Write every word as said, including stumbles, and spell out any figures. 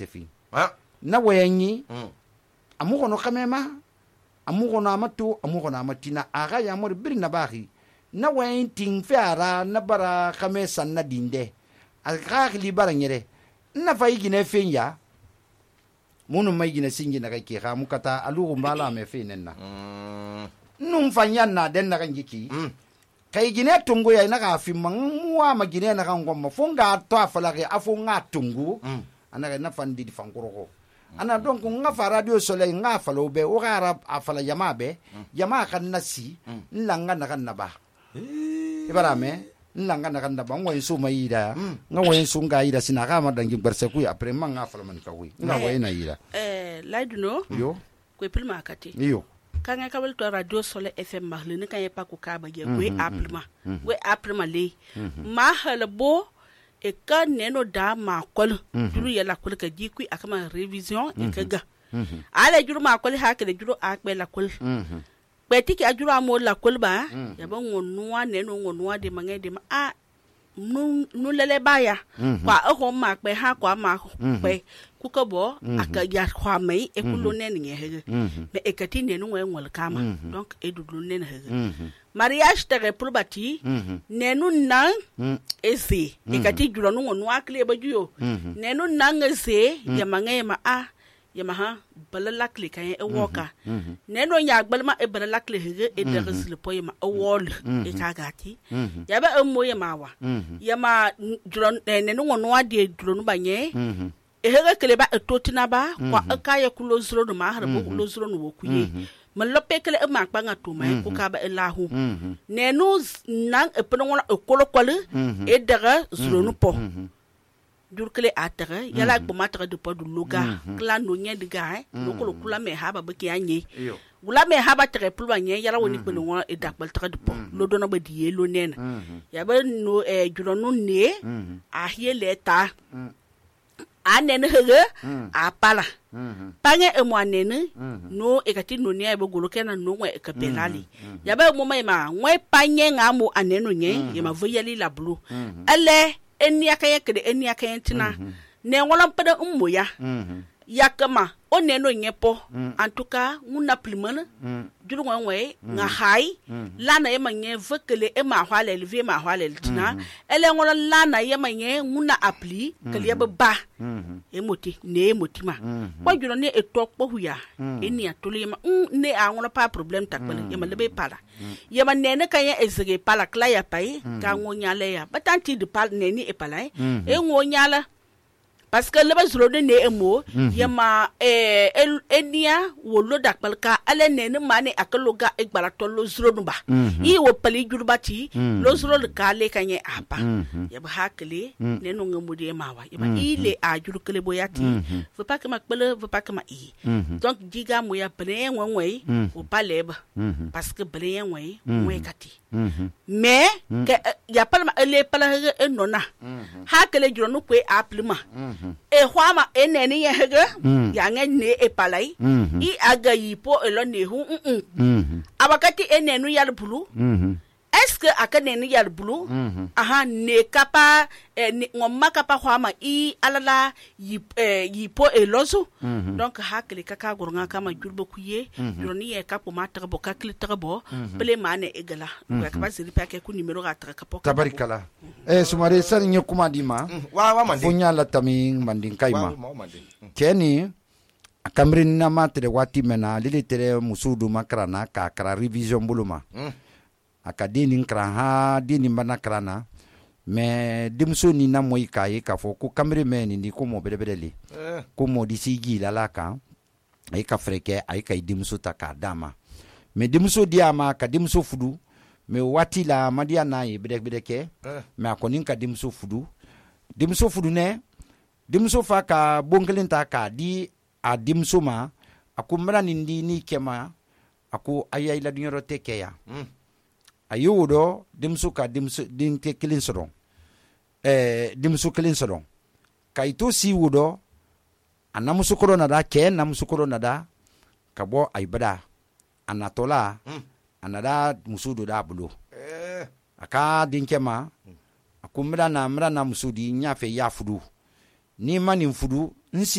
tefi na wayanyi amu gono kamema amu gono amatu amu gono amatina aga ya mor birna bahi na wayin tin fiara na bara kame sanna dinde aga li bara nyere na fayi gine fenya munu mai gine singi na kake ha mukata alugo mbala me fe nenna nun fanyan na den na kanjiki kai gine tungu ya na ka fi muwa ma gine na kan gomma fonga to afalage afonga tungu ana na fandi di fankoro ana donc nga fa radio soleil nga falo be o gara afala yama be yama kan nasi nlanga na kan naba ibara me nlanga na kan naba ngwa su mayida nga wa su nga ida sina ga ma dangi berse ku après man nga fala man ka wi nga wa ina ida eh laiduno yo ko pilma kati yo kanga kabel to radio soleil fm marle ne kan pa ku ka ba ye we aprima we aprima le ma halbo e ka neno da ma kol duru ya la kol ka jikui akama revision e ka ga ala juru ma kol ha ka de juru akbe la kol beti ki ajuru amo la kol ba ya ba ngonwa neno ngonwa de mange de ma a nu nu lele baya kwa o ma kbe ha kwa ma kbe ku ka bo aka ya kwa mai e kulo ne ne he me e kati neno ngwe ngol kama donc e dudlu ne he mariage tere probati nenu nan ese ikati juro no no akle ba juyo nenu nan ese ya mange ma a ya ma ha balala kle kan e woka nenu nya gbalma e balala kle hege e de resle po ma e wol e kagati ya ba mo ya ma wa ya ma juro nenu no ade juro no banye e hege kle ba e totina ba kwa aka ya kulo zuro no ma harbo kulo zuro no wokuye man lope kele e ma kpanga to mai ko ka ba elahu nenu nan e peno wona e kolo kolo e daga zuro no po dur kele atare yala ko matra de po du loga kla no nya diga no kolo kula me ha ba baki anye gula me ha ba tere pulwa nye yala woni peno wona e dakbal tra de po lo do no ba die lo nena ya ba no e juro no ne a hiele ta anene hege apala pange e mo anene no e kati no ne ba golo kena no ngwe e ka pelali ya ba mo mai ma ngwe panye nga mo aneno nye e ma voyali la blu ale eni akaya kede eni akaya tina ne wala pada ummo ya yakama o neno nyepo en tout cas nguna plimana juru ngwe nga hai lana yema nye vekele e ma hwale elve ma hwale tina ele ngola lana yema nye nguna appli kele ya ba emoti ne emoti ma kwa juro ne etok po huya eni atole yema ne a ngola pa problem takbele yema lebe pala yema nene kaya ezege pala kla ya pai ka ngonya le ya batanti de pal neni e pala e ngonya la parce que le bazro de ne emo yema eh enia wo lo dakbalka ale ne ne mane akaloga egbara to lo zro no ba i wo pali jurbati lo zro le kale kanye apa yeba hakle ne no ngamudi mawa yeba ile a jurkele boyati faut pas que ma pele faut pas que ma i donc diga mo ya bre wenwe o paleba parce que bre wenwe we kati mais ya palma ele pala enona hakle juro no kwe aplima e hwama eneni ye hege ya nge ne e palai i aga yipo elo ne hu mm abakati enenu yal bulu est-ce que akaneni yal bulu aha ne kapa ngomma kapa hwama i alala yipo elozo donc hakle kaka gornga kama jurbo kuye juroni e kapo matra bo kakle trabo ple mane egala ko kapa siri pa ke ku numero ga tra kapo tabarikala eh sumare sar nyukuma dima wa wa mandi funya la taming manding kaima keni akamrin na matre wati mena lili tere musudu makrana ka kra revision buluma akadini kra ha dini bana krana me dimso ni na moy kai ka fo ku kamri meni ni ko mo bedebedeli ko mo disigi la la ka ay ka freke ay ka dimso ta ka dama me dimso diama ka dimso fudu me wati la madia na yi bedebedeke me akonin ka dimso fudu dimso fudu ne dimso fa ka bongelin ta ka di a dimso ma akumra nindi ni kema aku ayay la dunyoro tekeya ayudo dimso ka dimso din te kilin soron eh dimso kilin soron kaito si wudo anamusu korona da ke namusu korona da kabo aibada anatola anada musudo da bulu eh aka dinkema akumra na mra na musudi nyafe ya fudu ni mani fudu nsi